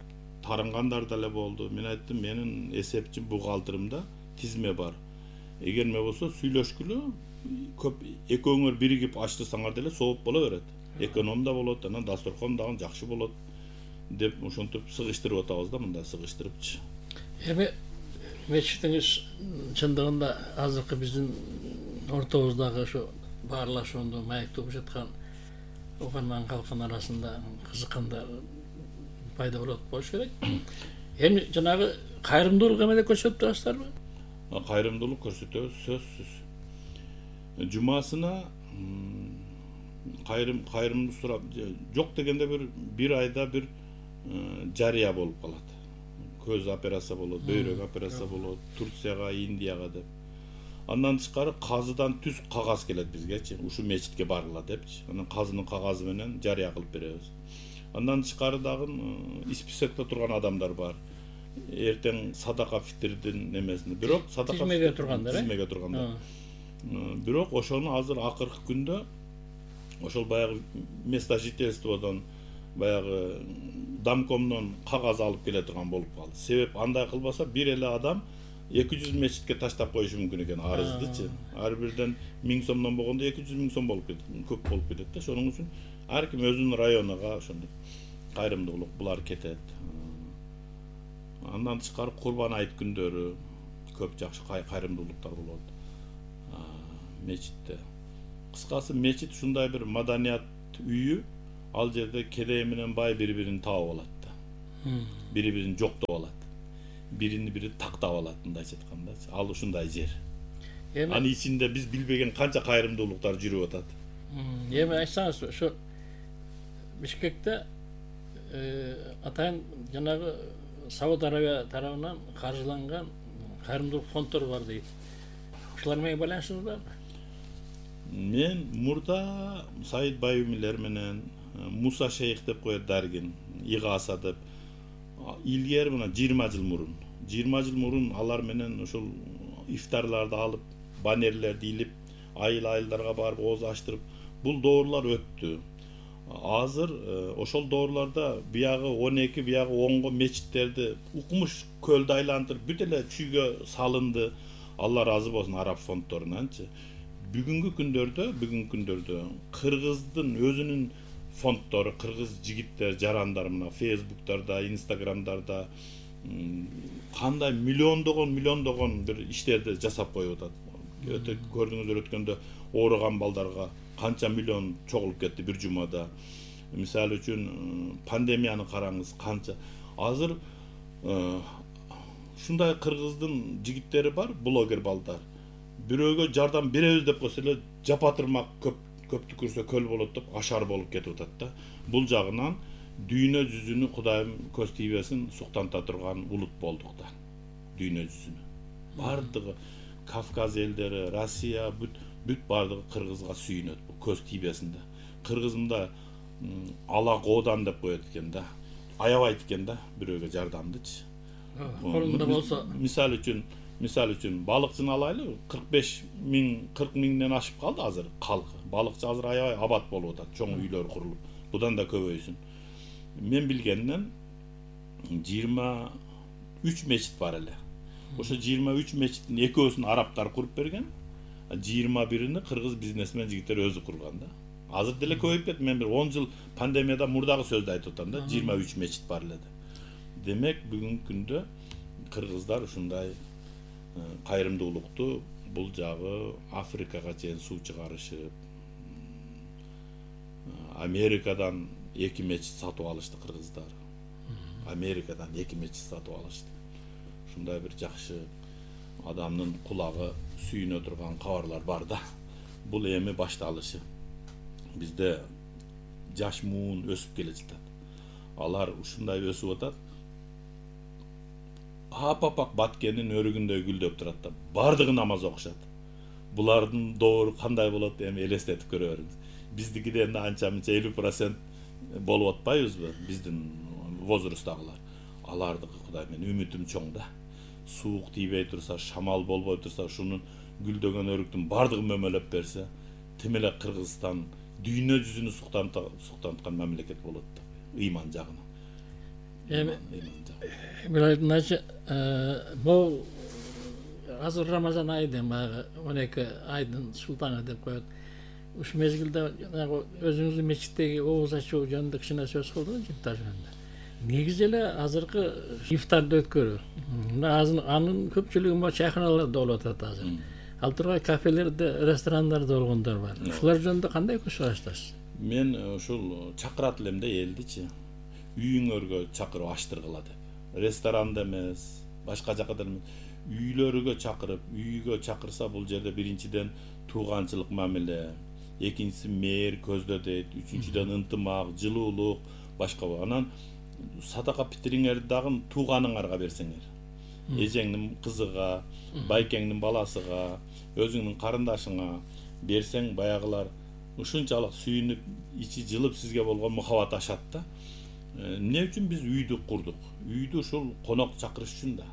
тарынгандар деле болду. Мен айттым, менин эсепчи бухгалтеримде тизме бар. Эгер эме болсо сүйлөшкүлө, көп экөөңөр биригип ачтырсаңар деле сооп боло берет. Эконом да болот, анан дасторкон дагы жакшы болот деп ошентип сыгыштырып атабыз да, мындай сыгыштырыпчы. Эми мечитиңиз чындыгында азыркы биздин ортобуздагы ошо баарлашууну маектеп жаткан угарман калктын арасында кызыккандар пайда болот болуш керек. Эми жанагы кайрымдуулук эмеде көрсөтүп турасыздарбы? Кайрымдуулук көрсөтөбүз, сөзсүз. Жумасына кайрым кайрымды сурап, жок дегенде бир бир айда бир жарыя болуп калат. Көз операция болот, бөйрөк операция болот, Турцияга, Индияга деп. Андан тышкары казыдан түз кагаз келет бизгечи, ушу мечитке баргыла депчи. Анан казынын кагазы менен жарыя кылып беребиз. Андан тышкары дагы списокто турган адамдар бар. Эртең садака фитрдин немесинде, бирок садака тизмеге тургандар, тизмеге тургандар. Бирок ошону азыр акыркы күндө ошол баягы место жительстводон баягы домкомдон кагаз алып келе турган болуп калды. Себеп андай кылбаса бир эле адам эки жүз мечитке таштап коюшу мүмкүн экен арыздычы. Ар бирден миң сомдон болгондо эки жүз миң сом болуп кетет, көп болуп кетет да. Ошоның үчүн ар ким өзүнүн районуга ошондой кайрымдуулук булар кетет. Андан тышкары Курбан айт күндөрү көп жакшы кайрымдуулуктар болот. мечитте. Кыскасы мечит ушундай бир маданият үйү, ал жерде кедей менен бай бири-бирин таап алат да. Бири-бирин жоктоп алат. Бирини бири тактап алат, мындайча айткандачы. Ал ушундай жер. Анын ичинде биз билбеген канча кайрымдуулуктар жүрүп атат. Эми айтсаңыз, ошо Бишкекте атайын жанагы Сауд Арабия тарабынан каржыланган кайрымдуулук фонддор бар дейт. Ушулар менен байланышыңыз барбы? Мен мурда Саид Баюмилер менен, Муса Шейх деп коет Даргин, Игаса деп, илгери мына жыйырма жыл мурун, жыйырма жыл мурун алар менен ушул ифтарларды алып, баннерлерди илип, айыл-айылдарга барып ооз ачтырып, бул доорлор өттү. Азыр ошол доорлордо биягы он эки, биягы онго мечиттерди укмуш көлдү айлантырып бүт эле чүйгө салынды. Алла разы болсун араб фонддорунанчы. Бүгүнкү күндөрдө, бүгүнкү күндөрдө Кыргыздын өзүнүн фонддору, кыргыз жигиттер, жарандар мына Фейсбуктарда, Инстаграмдарда кандай миллиондогон, миллиондогон бир иштерди жасап коюп атат. Өтө көрдүңүздөр өткөндө ооруган балдарга канча миллион чогулуп кетти бир жумада. Мисалы үчүн пандемияны караңыз, канча. Азыр ушундай кыргыздын жигиттери бар, блогер балдар. Бирөөгө жардам беребиз деп койсо эле жапатырмак көп көптү көрсө көл болот деп ашар болуп кетип атат да. Бул жагынан дүйнө жүзүнү Кудайым көз тийбесин суктанта турган улут болдук да. Дүйнө жүзүнө. Бардыгы Кавказ элдери, Россия бүт бүт бардыгы кыргызга сүйүнөт, көз тийбесин да. Кыргыз мында ала коодан деп коет экен да. Аябайт экен да бирөөгө жардамдычы. Колунда болсо. Мисалы үчүн Мисалы үчүн балыкчыны алайлы, кырк беш миң, кырк миңден ашып калды азыр калкы. Балыкчы азыр аябай абат болуп атат, чоң үйлөр курулуп. Будан да көбөйсүн. Мен билгенден жыйырма үч мечит бар эле. Ошо жыйырма үч мечиттин экөөсүн арабтар куруп берген, жыйырма бирини кыргыз бизнесмен жигиттер өзү курган да. Азыр деле көбөйүп кетти. Мен бир он жыл пандемияда мурдагы сөздү айтып атам да, жыйырма үч мечит бар эле деп. Демек бүгүнкү күндө кыргыздар ушундай кайрымдуулукту бул жагы Африкага чейин суу чыгарышып, Америкадан эки мечит сатып алышты кыргыздар. Америкадан эки мечит сатып алышты. Ушундай бир жакшы адамдын кулагы сүйүнө турган кабарлар бар да. Бул эми башталышы. Бизде жаш муун өсүп келе жатат. Алар ушундай өсүп атат. Апапак баткенин өрүгүндөй гүлдөп турат да. Бардыгы намаз окушат. Булардын доору кандай болот эми элестетип көрө бериңиз. Биздикиден да анча-мынча элүү процент болуп атпайбызбы биздин возрасттагылар. Алардыкы Кудай менен үмүтүм чоң да. Суук тийбей турса, шамал болбой турса, ушунун гүлдөгөн өрүктүн бардыгы мөмөлөп берсе, тим эле Кыргызстан дүйнө жүзүнү суктанткан мамлекет болот да. Ыйман жагынан. Эми Билайдыначы, бул азыр Рамазан айы баягы он эки айдын султаны деп коет. Ушу мезгилде жанагы өзүңүздүн мечиттеги ооз ачуу жөнүндө кичине сөз кылдыңыз ифтар жөнүндө. Негизи эле азыркы ифтарды өткөрүү. Анын көпчүлүгү могу чайканаларда болуп атат азыр. Ал тургай кафелерде, ресторандарда болгондор бар. Ушулар жөнүндө кандай көз караштасыз? Мен ушул чакырат элем да элдичи. Үйүңөргө чакырып аштыргыла деп. Ресторанда эмес, башка жакта эмес. Үйлөрүгө чакырып, үйгө чакырса бул жерде биринчиден тууганчылык мамиле, экинчиси мээр көздө дейт, үчүнчүдөн ынтымак, жылуулук, башка. Анан садака питириңерди дагы тууганыңарга берсеңер. Эжеңдин кызыга, байкеңдин баласыга, өзүңдүн карындашыңа берсең, баягылар ушунчалык сүйүнүп, ичи жылып сизге болгон мухаббат ашат да. Эмне үчүн биз үйдү курдук? Үйдү ушул конок чакырыш үчүн да.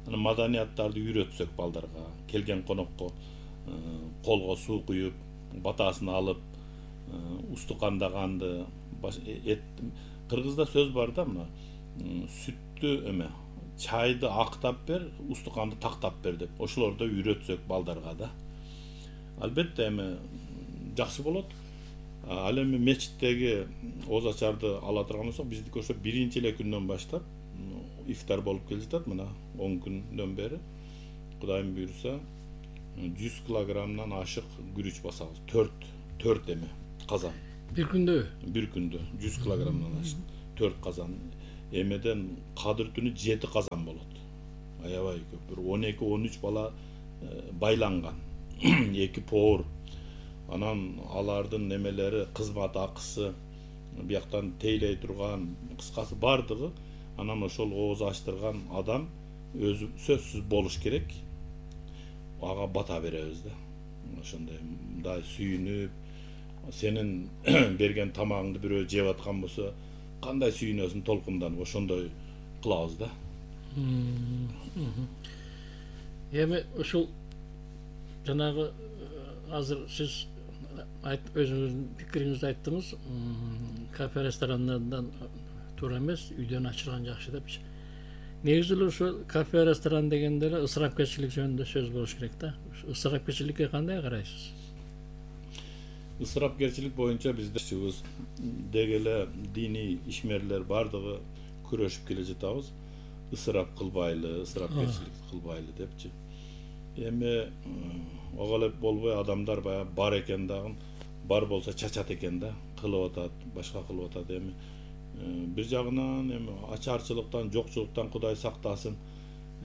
Анан маданияттарды үйрөтсөк балдарга, келген конокко колго суу куюп, батасын алып, устукандаганды, эт. Кыргызда сөз бар да, мына сүттү эме, чайды актап бер, устуканды тактап бер деп. Ошолорду үйрөтсөк балдарга да. Албетте эми жакшы болот. Ал эми мечиттеги ооз ачарды ала турган болсок, биздики ошо биринчи эле күндөн баштап ифтар болуп келе жатат, мына он күндөн бери. Кудайым буйрса, жүз килограммдан ашык күрүч басабыз. төрт төрт эме казан. Бир күндө Бир күндө жүз килограммдан ашык төрт казан. Эмеден кадыр түнү жети казан болот. Аябай көп. Бир он эки он үч бала байланган. эки повар. Анан алардын немелери, кызмат акысы, бияктан тейлей турган, кыскасы бардыгы, анан ошол ооз ачтырган адам өзү сөзсүз болуш керек. Ага бата беребиз да. Ошондой мындай сүйүнүп, сенин берген тамагыңды бирөө жеп аткан болсо, кандай сүйүнөсүң толкунданып, ошондой кылабыз да. Эми ушул жанагы азыр сиз өзүңүздүн пикириңизди айттыңыз, кафе ресторандардан туура эмес, үйдөн ачырган жакшы депчи. Негизи эле ошо кафе ресторан дегенде эле ысырапкерчилик жөнүндө сөз болуш керек да. Ысырапкерчиликке кандай карайсыз? Ысырапкерчилик боюнча бизде деги эле диний ишмерлер бардыгы күрөшүп келе жатабыз. Ысырап кылбайлы, ысырапкерчилик кылбайлы депчи. Эми ого эле болбой адамдар баягы бар экен дагы, бар болсо чачат экен да, кылып атат, башка кылып атат. Эми бир жагынан эми ачарчылыктан, жокчулуктан Кудай сактасын.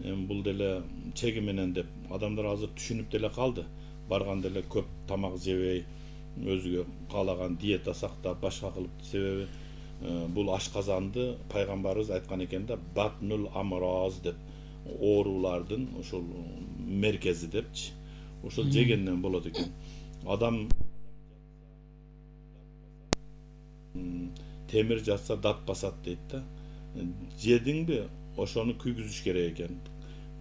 Эми бул деле чеги менен деп адамдар азыр түшүнүп деле калды. Барган деле көп тамак жебей, өзүгө каалаган диета сактап, башка кылып, себеби бул ашказанды пайгамбарыбыз айткан экен да, батнул амроз деп, оорулардын ошол меркези депчи. Ошол жегенден болот экен. Адам темир жатса дат басат дейт да. Жедиңби, ошону күйгүзүш керек экен.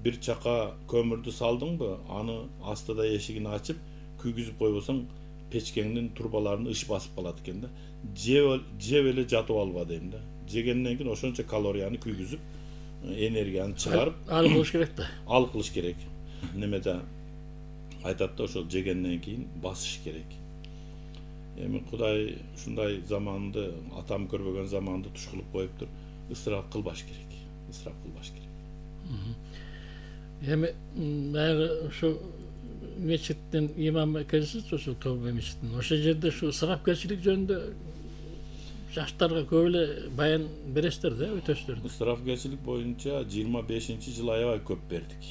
Бир чака көмүрдү салдыңбы, аны астыда эшигин ачып, күйгүзүп койбосоң, печкеңдин турбаларын ыш басып калат экен да. Жеп эле жатып алба дейм да. Жегенден кийин ошончо калорияны күйгүзүп, энергияны чыгарып, ал болуш керек да. Ал кылыш керек. Немеде айтат да, ошол жегенден кийин басыш керек. Эми Кудай ушундай заманды, атам көрбөгөн заманды туш кылып коюптур. Ысырап кылбаш керек. Ысырап кылбаш керек. Эми баягы ушу мечиттин имамы экенсиз, ошол Тобе мечитинин. Ошол жерде ушу ысырапкерчилик жөнүндө жаштарга көп эле баян бересиздер да, өтөсүздөр. Ысырапкерчилик боюнча жыйырма бешинчи жылы аябай көп бердик.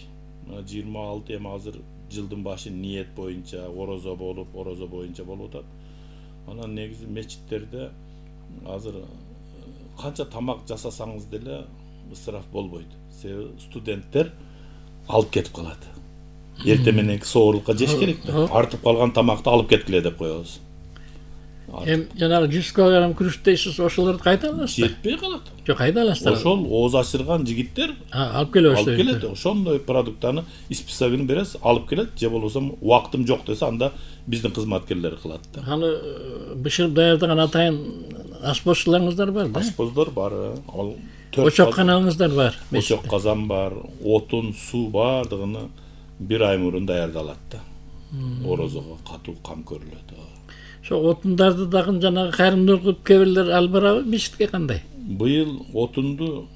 жыйырма алты эми азыр жылдын башы ниет боюнча, орозо болуп, орозо боюнча болуп атат. Анан негизи мечиттерде азыр канча тамак жасасаңыз деле ысырап болбойт. Себеби студенттер алып кетип калат. Эртең мененки соорлукка жеш керек да. Артып калган тамакты алып кеткиле деп коебуз. Эми жанагы жүз килограмм күрүч дейсиз, ошолорду кайда аласыздар? Жетпей калат. Жок, кайда аласыздар? Ошол ооз ачырган жигиттер алып келип алып келет. Ошондой продуктаны списогун бересиз, алып келет. Же болбосо убактым жок десе, анда биздин кызматкерлер кылат да. Аны бышырып даярдаган атайын ашпозчуларыңыздар бар да? Ашпоздар бар. Ал очок каналыңыздар бар. Очок казан бар, отун, суу бардыгыны бир ай мурун даярдалат да. Орозого катуу кам көрүлөт. Ошо отундарды дагы жанагы кайрымдуулук кылып кээ бирлер алып барабы мечитке кандай? Быйыл отунду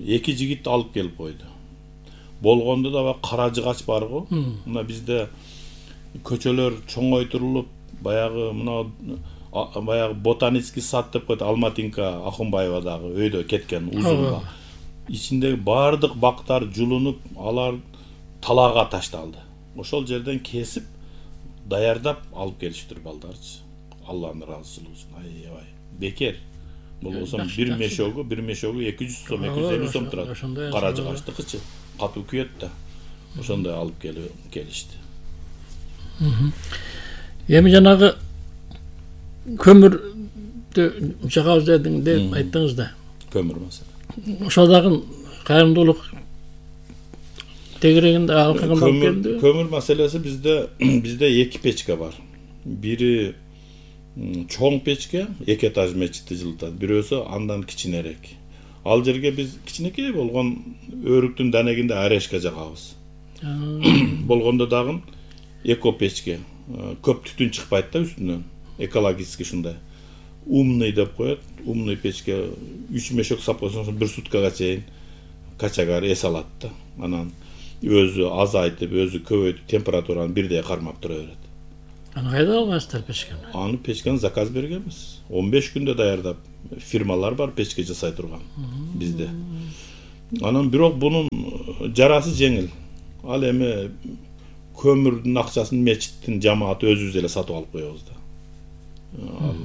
эки жигит алып келип койду. Болгондо да кара жыгач бар го. Мына бизде көчөлөр чоңойтурулуп, баягы мына баягы ботанический сад деп коет, Алматинка Акунбаевадагы өйдө кеткен узун бак. Ичиндеги бардык бактар жулунуп, алар талаага ташталды. Ошол жерден кесип, даярдап алып келиштир балдарчы. Алланын ыраазычылыгы үчүн. Аябай бекер. Болбосо бир мешогу, бир мешогу эки жүз сом, эки жүз элүү сом турат. Кара жыгачтыкычы катуу күйөт да. Ошондой алып келип келишти. Эми жанагы көмүрдү жагабыз дедиң деп айттыңыз да. Көмүр маселе. Ошол дагы кайрымдуулук тегерегинде алкаган алып келди. Көмүр маселеси бизде бизде эки печка бар. Бири чоң печке, эки этаж мечитти жылытат. Бирөөсү андан кичинерээк. Ал жерге биз кичинекей болгон өрүктүн данегинде орешка жагабыз. Болгондо дагы эко печке. Көп түтүн чыкпайт да үстүнөн. Экологический ушундай. Умный деп коет. Умный печке үч мешок сап койсоң бир суткага чейин качагар эс алат да. Анан өзү азайтып, өзү көбөйтүп температураны бирдей кармап тура берет. Аны кайда алгансыздар печкени? Аны печкени заказ бергенбиз. он беш күндө даярдап, фирмалар бар печке жасай турган бизде. Анан бирок бунун жарасы жеңил. Ал эми көмүрдүн акчасын мечиттин жамааты өзүбүз эле сатып алып коебуз да. Ал,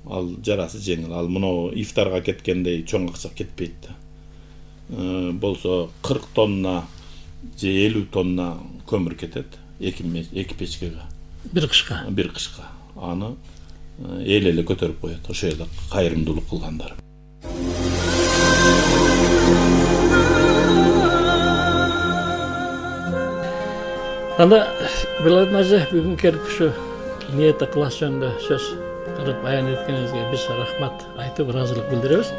ал жарасы жеңил. Ал мына ифтарга кеткендей чоң акча кетпейт да. Болсо кырк тонна же элүү тонна көмүр кетет эки эки печкеге. Бир кышка. Бир кышка. Аны эл эле көтөрүп коет. Ошо эле кайрымдуулук кылгандар. Анда Белайдын ажы бүгүн келип ушу ниет ыкылас жөнүндө сөз кылып баян эткениңизге биз рахмат айтып, ыраазылык билдиребиз.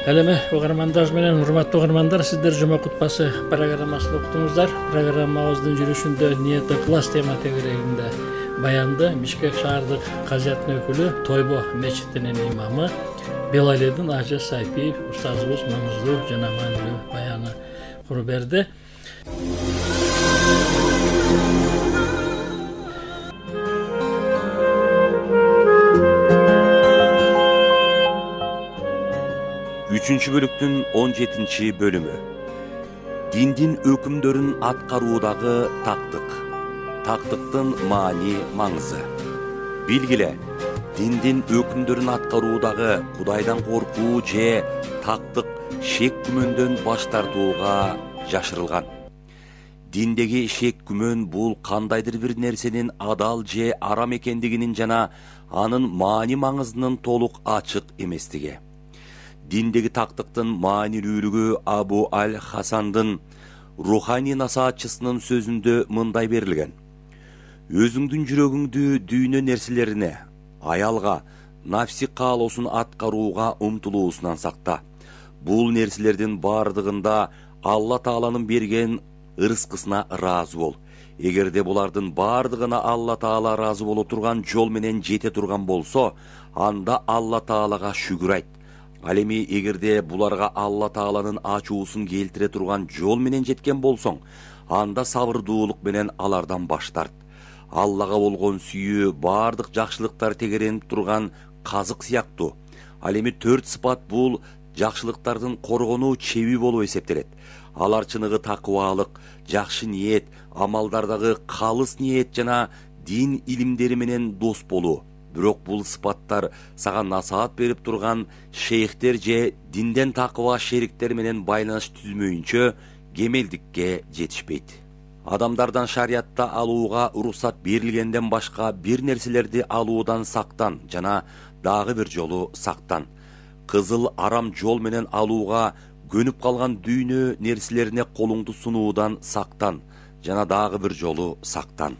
Ал эми угармандар менен урматтуу угармандар, сиздер жума кутпасы программасын уктуңуздар. Программабыздын жүрүшүндө ниет ыкылас тема тегерегинде баянды Бишкек шаардык казиятынын өкүлү, Тойбо мечитинин имамы Белайдын ажы Сайпиев устазыбыз маңыздуу жана маанилүү баяны куруп берди. Үчүнчү бөлүктүн он жетинчи бөлүмү. Диндин өкүмдөрүн аткаруудагы тактык. Тактыктын маани маңызы. Билгиле, диндин өкүмдөрүн аткаруудагы Кудайдан коркуу же тактык шек күмөндөн баш тартууга жашырылган. Диндеги шек күмөн бул кандайдыр бир нерсенин адал же арам экендигинин жана анын маани маңызынын толук ачык эместиги. Диндеги тактыктын маанилүүлүгү Абу аль-Хасандын руханий насаатчысынын сөзүндө мындай берилген. Өзүңдүн жүрөгүңдү дүйнө нерселерине, аялга, нафси каалоосун аткарууга умтулуусунан сакта. Бул нерселердин бардыгында Алла Тааланын берген ырыскысына ыраазы бол. Эгерде булардын бардыгына Алла Таала ыраазы боло турган жол менен жете турган болсо, анда Алла Таалага шүгүр айт. Ал эми эгерде буларга Алла Тааланын ачуусун келтире турган жол менен жеткен болсоң, анда сабырдуулук менен алардан баш тарт. Аллага болгон сүйүү бардык жакшылыктар тегеренип турган казык сыяктуу. Ал эми төрт сыпат бул жакшылыктардын коргонуу чеби болуп эсептелет. Алар чыныгы такыбалык, жакшы ниет, амалдардагы калыс ниет жана дин илимдери менен дос болуу. Бирок бул сыпаттар сага насаат берип турган шейхтер же динден такыба шериктер менен байланыш түзмөйүнчө кемелдикке жетишпейт. Адамдардан шариятта алууга уруксат берилгенден башка бир нерселерди алуудан сактан жана дагы бир жолу сактан. Кызыл арам жол менен алууга көнүп калган дүйнө нерселерине колуңду сунуудан сактан жана дагы бир жолу сактан.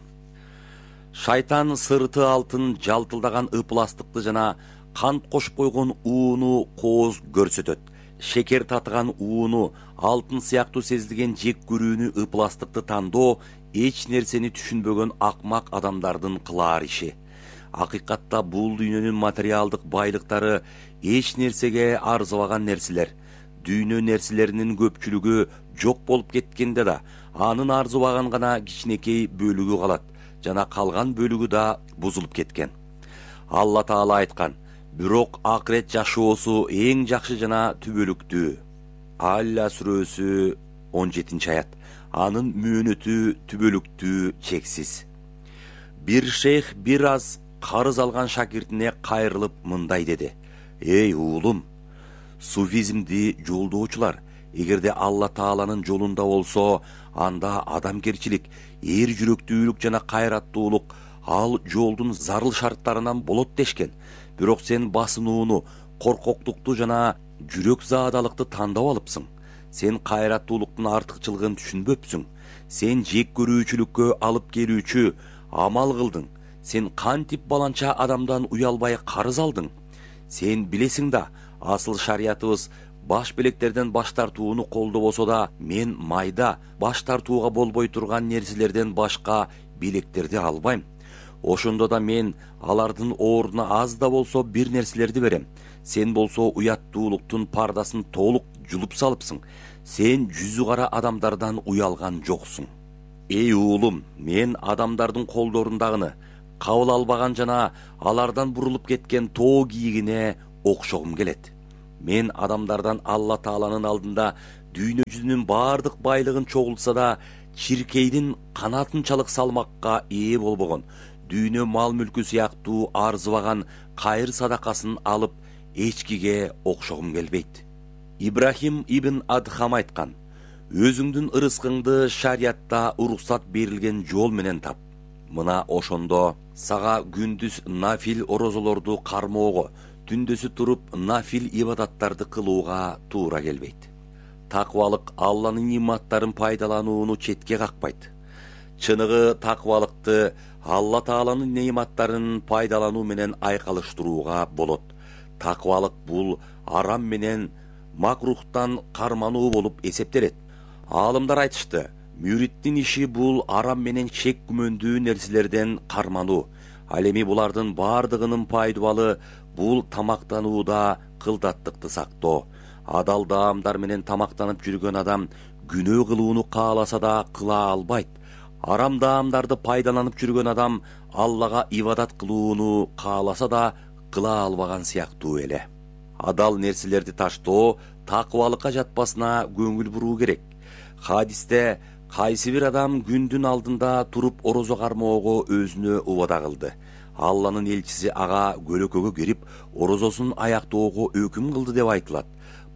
Шайтан сырты алтын жалтылдаган ыпластыкты жана кант кошуп койгон ууну кооз көрсөтөт. Шекер татыган ууну, алтын сыяктуу сезилген жек көрүүнү, ыпластыкты тандоо эч нерсени түшүнбөгөн акмак адамдардын кылаар иши. Акыйкатта бул дүйнөнүн материалдык байлыктары эч нерсеге арзыбаган нерселер. Дүйнө нерселеринин көпчүлүгү жок болуп кеткенде да, анын арзыбаган гана кичинекей бөлүгү калат. Жана калган бөлүгү да бузулуп кеткен. Алла Таала айткан: бирок акырет жашоосу эң жакшы жана түбөлүктүү. Алла сүрөсү он жетинчи аят. Анын мөөнөтү түбөлүктүү, чексиз. Бир шейх бир аз карыз алган шакиртине кайрылып мындай деди: Эй уулум, суфизмди жолдоочулар, эгерде Алла Тааланын жолунда болсо, анда адамгерчилик, эр жүрөктүүлүк жана кайраттуулук ал жолдун зарыл шарттарынан болот дешкен. Бирок сен басынууну, коркоктукту жана жүрөк заадалыкты тандап алыпсың. Сен кайраттуулуктун артыкчылыгын түшүнбөпсүң. Сен жек көрүүчүлүккө алып келүүчү амал кылдың. Сен кантип баланча адамдан уялбай карыз алдың. Сен билесиң да, асыл шариятыбыз баш белектерден баш тартууну колдобосо да, мен майда баш тартууга болбой турган нерселерден башка белектерди албайм. Ошондо да мен алардын ордуна аз да болсо бир нерселерди берем. Сен болсо уяттуулуктун пардасын толук жулуп салыпсың. Сен жүзү кара адамдардан уялган жоксуң. Эй уулум, мен адамдардын колдорундагыны кабыл албаган жана алардан бурулуп кеткен тоо кийигине окшогум келет. Мен адамдардан Алла Тааланын алдында дүйнө жүзүнүн бардык байлыгын чогултса да, чиркейдин канатынчалык салмакка ээ болбогон, дүйнө мал мүлкү сыяктуу арзыбаган кайыр садакасын алып эчкиге окшогум келбейт. Ибрахим ибн Адхам айткан: өзүңдүн ырыскыңды шариятта уруксат берилген жол менен тап. Мына ошондо сага күндүз нафил орозолорду кармоого, түндөсү туруп нафил ибадаттарды кылууга туура келбейт. Таквалык Алланын нематтарын пайдаланууну четке какпайт. Чыныгы таквалыкты Алла Тааланын нематтарын пайдалануу менен айкалыштырууга болот. Таквалык бул арам менен макрухтан кармануу болуп эсептелет. Аалымдар айтышты, мүриттин иши бул арам менен шек күмөндүү нерселерден кармануу. Ал эми булардын бардыгынын пайдубалы бул тамактанууда кылдаттыкты сактоо. Адал даамдар менен тамактанып жүргөн адам күнөө кылууну кааласа да кыла албайт. Арам даамдарды пайдаланып жүргөн адам Аллага ибадат кылууну кааласа да кыла албаган сыяктуу эле. Адал нерселерди таштоо таквалыкка жатпасына көңүл буруу керек. Хадисте кайсы бир адам күндүн алдында туруп орозо кармоого өзүнө убада кылды. Алланын элчиси ага көлөкөгө кирип, орозосун аяктоого өкүм кылды деп айтылат.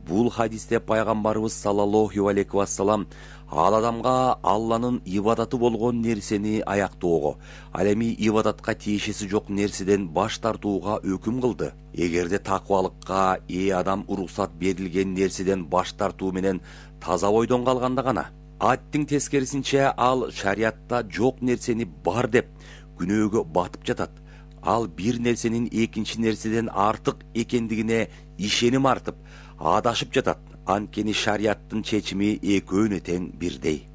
Бул хадисте пайгамбарыбыз саллаллаху алейхи вассалам ал адамга Алланын ибадаты болгон нерсени аяктоого, ал эми ибадатка тиешеси жок нерседен баш тартууга өкүм кылды. Эгерде таквалыкка ээ адам уруксат берилген нерседен баш тартуу менен таза ойдон калганда гана, аттин тескерисинче ал шариятта жок нерсени бар деп күнөөгө батып жатат. Ал бир нерсенин экинчи нерседен артык экендигине ишеним артып, адашып жатат. Анткени шариаттын чечими экөөнө тең бирдей.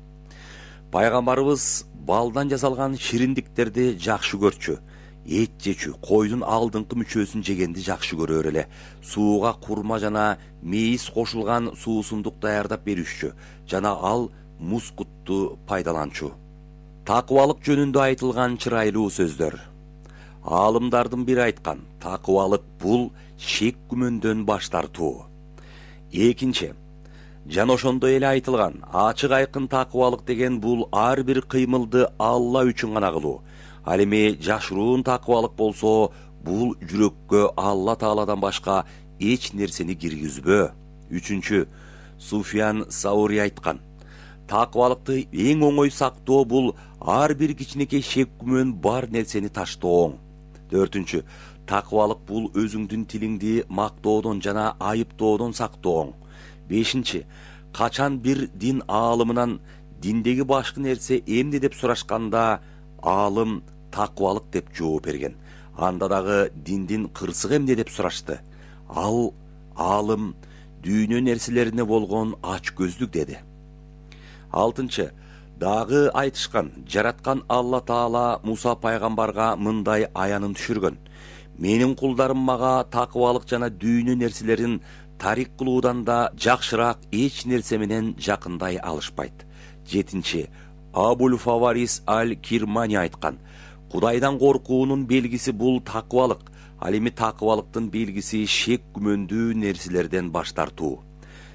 Пайгамбарыбыз балдан жасалган шириндиктерди жакшы көрчү. Эт жечү, койдун алдыңкы мүчөсүн жегенди жакшы көрөр эле. Сууга курма жана мейиз кошулган суусундук даярдап беришчү жана ал мускутту пайдаланчу. Таквалык жөнүндө айтылган чырайлуу сөздөр. Аалымдардын бири айткан: таквалык бул шек күмөндөн баш тартуу. Экинчи, жана ошондой эле айтылган, ачык айкын таквалык деген бул ар бир кыймылды Алла үчүн гана кылуу. Ал эми жашыруун таквалык болсо, бул жүрөккө Алла Тааладан башка эч нерсени киргизбөө. Үчүнчү, Суфиян Саури айткан: таквалыкты эң оңой сактоо бул ар бир кичинекей шек күмөн бар нерсени таштооң. Төртүнчү, таквалык бул өзүңдүн тилиңди мактоодон жана айыптоодон сактооң. Бешинчи, качан бир дин аалымынан диндеги башкы нерсе эмне деп сурашканда, аалым таквалык деп жооп берген. Анда дагы диндин кырсыгы эмне деп сурашты. Ал аалым дүйнө нерселерине болгон ач көздүк деди. Алтынчы, дагы айтышкан, жараткан Алла Таала Муса пайгамбарга мындай аянын түшүргөн: менин кулдарым мага таквалык жана дүйнө нерселерин тарик кылуудан да жакшыраак эч нерсе менен жакындай алышпайт. Жетинчи, Абул Фаварис аль-Кирмани айткан: Кудайдан коркуунун белгиси бул таквалык. Ал эми таквалыктын белгиси шек күмөндүү нерселерден баш тартуу.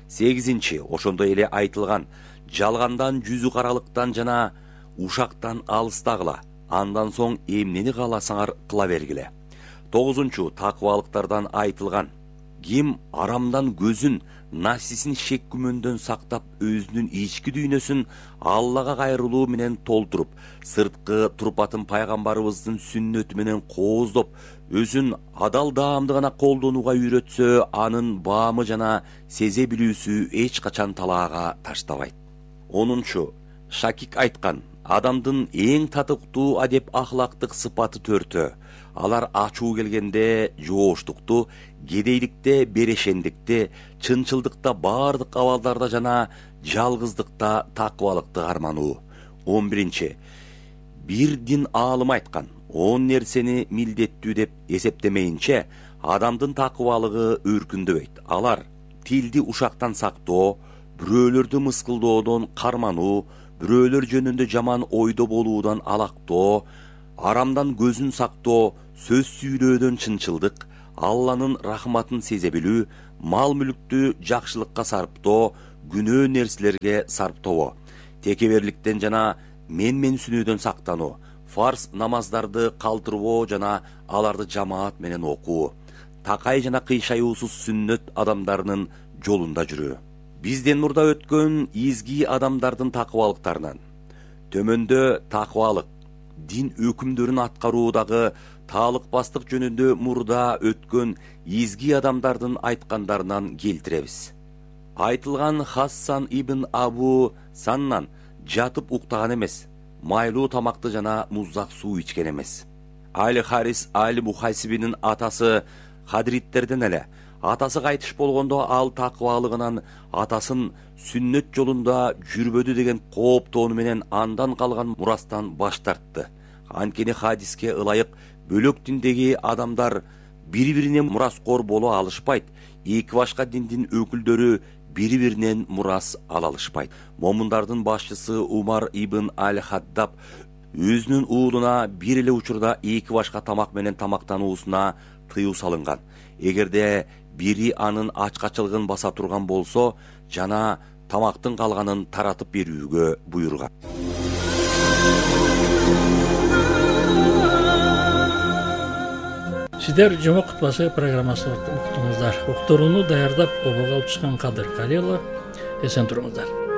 Сегизинчи, ошондой эле айтылган: жалгандан, жүзү каралыктан жана ушактан алыстагыла. Андан соң эмнени кааласаңар кыла бергиле. Тогузунчу, таквалыктардан айтылган: ким арамдан көзүн, нафсисин шек күмөндөн сактап, өзүнүн ички дүйнөсүн Аллага кайрылуу менен толтуруп, сырткы турпатын пайгамбарыбыздын сүннөтү менен кооздоп, өзүн адал даамды гана колдонууга үйрөтсө, анын баамы жана сезе билүүсү эч качан талаага таштабайт. Онунчу, Шакик айткан: адамдын эң татыктуу адеп ахлактык сыпаты төртөө. Алар ачуу келгенде жооштукту, кедейликте берешендикти, чынчылдыкта бардык абалдарда жана жалгыздыкта таквалыкты кармануу. он биринчи, бир дин аалым айткан: он нерсени милдеттүү деп эсептемейинче адамдын таквалыгы өркүндөбөйт. Алар тилди ушактан сактоо, бирөөлөрдү мыскылдоодон кармануу, бирөөлөр жөнүндө жаман ойдо болуудан алактоо, арамдан көзүн сактоо, сөз сүйлөөдөн чынчылдык, Алланын рахматын сезе билүү, мал мүлктү жакшылыкка сарптоо, күнөө нерселерге сарптоо, текеберликтен жана менменсинүүдөн сактануу, фарз намаздарды калтырбоо жана аларды жамаат менен окуу, такай жана кыйшаюусуз сүннөт адамдарынын жолунда жүрүү. Бизден мурда өткөн изги адамдардын такыбалыктарынан төмөндө такыбалык, дин өкүмдөрүн аткаруудагы таалыкпастык жөнүндө мурда өткөн изги адамдардын айткандарынан келтиребиз. Айтылган Хассан ибн Абу Саннан жатып уктаган эмес, майлуу тамакты жана муздак суу ичкен эмес. Али Харис Али Мухайсибинин атасы Хадриттерден эле. Атасы кайтыш болгондо ал такыбалыгынан атасын сүннөт жолунда жүрбөдү деген кооптоону менен андан калган мурастан баш тартты. Анткени хадиске ылайык бөлөк диндеги адамдар бири-бирине мураскор боло алышпайт, эки башка диндин өкүлдөрү бири-биринен мурас ала алышпайт. Момундардын башчысы Умар ибн Аль-Хаддаб өзүнүн уулуна бир эле учурда эки башка тамак менен тамактануусуна тыюу салынган. Эгерде бири анын ачкачылыгын баса турган болсо, жана тамактын калганын таратып берүүгө буйруган. Сиздер жума кутбасы программасын уктуңуздар. Уктурууну даярдап обого алып чыккан Кадыр Калилов. Эсен туруңуздар.